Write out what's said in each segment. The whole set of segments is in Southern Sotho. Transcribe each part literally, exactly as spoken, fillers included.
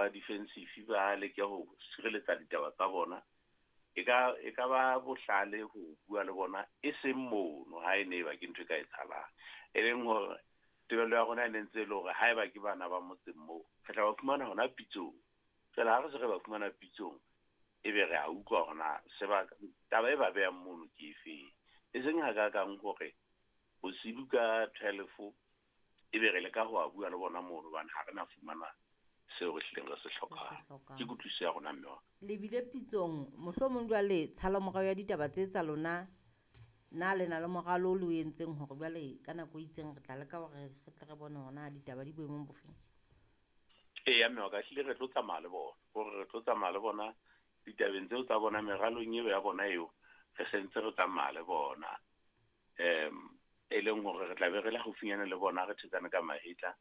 ba defensive, ba leke ho sireletsa ditaba tsa bona. E ka e ka ba bohlale ho bua le bona e seng mono, ha e ne ba ke ntho e ka etsahalang. E leng hore tebello ya rona e ne ntse e le hore haeba ke bana ba motseng moo, re tla ba fumana hona pitsong. Feela ha re se re ba fumana pitsong, ebe re a utlwa hore na sebaka taba e ba behang mono ke efeng. E seng hakakang hore bosibu ka twelve ebe re leka ho a bua le bona mono, hobane ha re na fumana seo re hlileng re se hlokang. Ke kutlwisiso ya rona mme wa. Le bile pitsong, mohlomong jwale tshalomorao ya ditaba tse tsa lona, na le na le moralo o le o entseng hore jwale ka nako e itseng re tla leka hore re tle re bone hore na ditaba di boemong bofeng? Eya mme wa ka, ehlile re tlo tsamaya le bona. Hore re tlo tsamaya le bona ditabeng tseo tsa bona, meralong eo ya bona eo, re sentse re tsamaya le bona. Um e leng hore re tla be re le haufinyane le bona, re thetsane ka mahetla.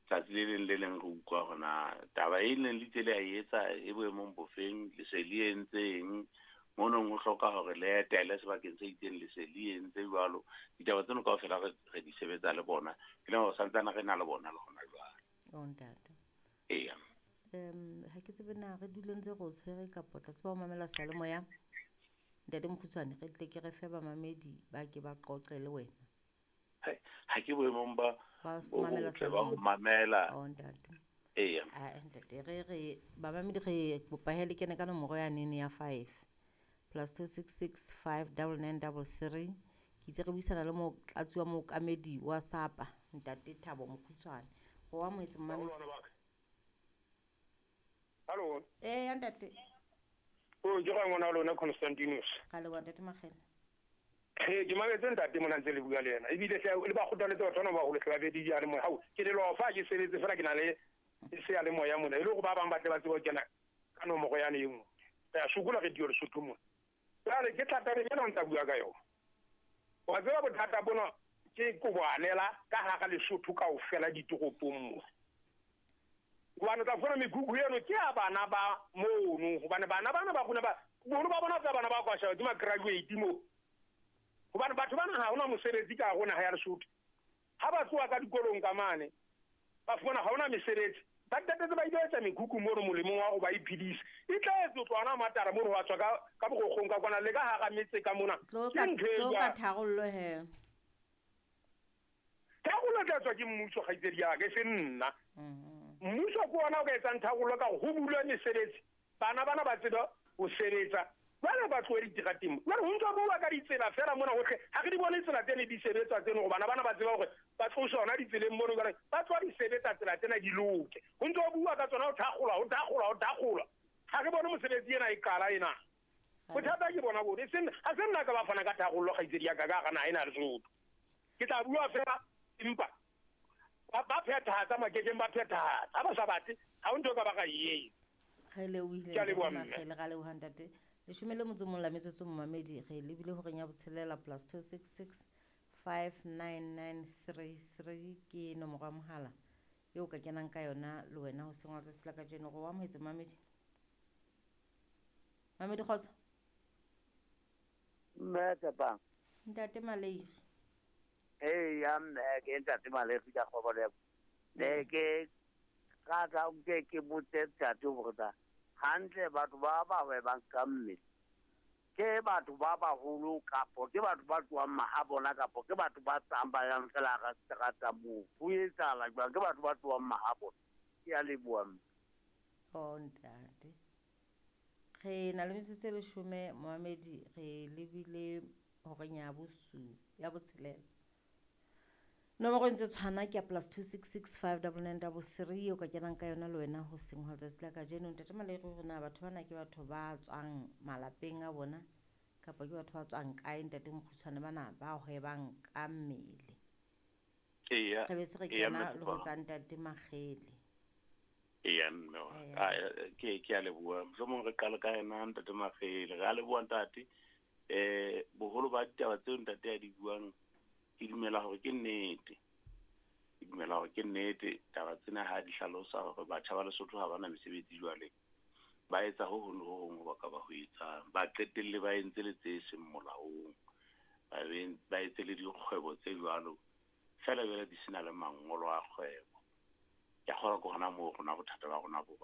Tsatsi le leng le leng re utlwa hore na taba e neng le itse le a e etsa e boemong bofeng, le se le entseng. Monong ho hloka hore le etele sebakeng se itseng, le se le entse jwalo. Ditaba tseno kaofela re re di sebetsa le bona. E leng hore santsane re na le bona le hona jwale. Oh ntate. Eya. Um ha ke tsebe na re dule ntse re o tshwere kapa o tla tseba ho mamela seyalemoya. Ntate Mokgutshwane, re tle ke re fe bamamedi ba ke ba qoqe le wena. Ha ke boemong ba Ba bo mamela botle ba ho seyalemoya. mamela. Oh ntate. Eya. Ah ntate, re re bamamedi re kopa he le kene ka nomoro ya nene ya five plus two six six five double nine double three. Ke itse re buisana le motlatsi wa mookamedi wa SAPA, Ntate Thabo Mokgutshwane. Go wa moetse mmamedi. Hallo. Eh ya ntate. O ke ga ngwana wa lona Constantinus. Ga le wa ntate Makgele. Ke ke mametse ntate mona ntse le bua le yena. Ebile hle le ba kgothaletse batho bana ba baholo hle ba be di ya le moya. Hao ke le lofa ke sebetse fela ke na le seyalemoya mona. E le hore ba bang ba tle ba tsebe ho kena ka nomoro yane e nngwe. Re a sokola radio Lesotho mona. Jwale ke thata ena ntsa bua ka yona. Wa tseba bothata bona ke koboanela ka hara Lesotho kaofela ditoropong mo. Hobane o tla fumana mekhukhu eno ke ya bana ba mono, hobane bana bana ba rona ba boholo ba bona tsa bana ba kwa sheba ke ma-graduate mo. Hobane batho bana ha hona mosebetsi ka hare ho naha ya Lesotho. Ha ba tloha ka dikolong ka mane, ba fumana ha hona mesebetsi. Ba qetetse ba ile etsa mekhukhu mono molemong wa hore ba iphedise. E tla etswa ho tloha hona Matara mono ho tswa ka ka Borokgong ka kwana le ka hara metse ka mona. Tlo Ke ka ntho e tlo ka jwalo. tharollo he. Tharollo e tla tswa ke mmuso kgaitsedi ya ka, e seng nna. Mhm. Mmuso ke ona o ka etsang tharollo ka hore ho bulwe mesebetsi. Bana bana ba tsebe ho sebetsa. Jwale ba tlohe diterateng. Jwale ho ntso bua ka ditsela fela mona hohle. Ha re di bone tsela tsene di sebetswa tseno hore bana bana ba tsebe hore ba tloswe hona ditseleng mono jwale ba tloha di sebetsa tsela tsena di loke. Ho ntso bua ka tsona ho thakgolwa, ho thakgolwa, ho thakgolwa. Ha re bone mosebetsi ena e qala ena. Bothata ke bona bone. E seng ha se nna ka ba fana ka tharollo kgaitsedi ya ka ka hara naha ena ya Lesotho. Ke tla bua fela empa ba ba phethahatsa makekeng ba phethahatsa. Ha ba sa batle, ha ho ntho e ka ba ka e etsa. Re lebohile Ke a ntate leboha mme. Makgele, ra leboha ntate. Leshome le motso mong la metsotso momamedi re lebile horeng ya botshelela plus two six six five nine nine three three ke nomoro ya mohala eo ka kenang ka yona le wena ho seng wa tsatsi la kajeno. Re o amohetse momamedi. Mamedi kgotso. Mme Tshepang. Ntate Maleiri. Eya mme ke ntate Maleiri ka kgobalo ya. Ne ke rata nke ke botse ntate hore na hantle batho ba ba hwebang ka mmele ke batho ba baholo kapo ke batho ba tlohang mahabona kapo ke batho ba tsamayang fela hara seterata moo. Ho etsahala jwang? Ke batho ba tlohang mahabona. Ke a leboha mme. Oh ntate. Re na le metsotso e leshome momamedi, re lebile horeng ya bosu ya botshelela. Nomoro e ntse tshwana ke ya plus two six six five double nine double three o ka kenang ka yona le wena ho seng ho letsatsi la kajeno. Ntate Maleiri hore na batho bana ke batho ba tswang malapeng a bona kapa ke batho ba tswang kae ntate Mokgutshwane bana ba hwebang ka mmele. Eya. Re be se re Eya, kena mme le ho Tshepang. tsa ntate Makgele. Eya mme wa. Eya. Ah, ke ke a leboha. Mohlomong re qale ka yena ntate Makgele. Re a leboha ntate. Eh boholo ba ditaba tseo ntate a di buang ke dumela hore ke nnete. Ke dumela hore ke nnete taba tsena ha di hlalosa hore batjha ba Lesotho ha bana mesebetsi jwale. Ba etsa ho hong le ho hong ho ba ka ba ho etsang. Ba qetelle ba entse le tse seng molaong. Ba be ba etse le dikgwebo tse jwalo. Feela jwale di sena le mangolo a kgwebo. Ke a kgolwa ke hona moo rona bothata ba rona bo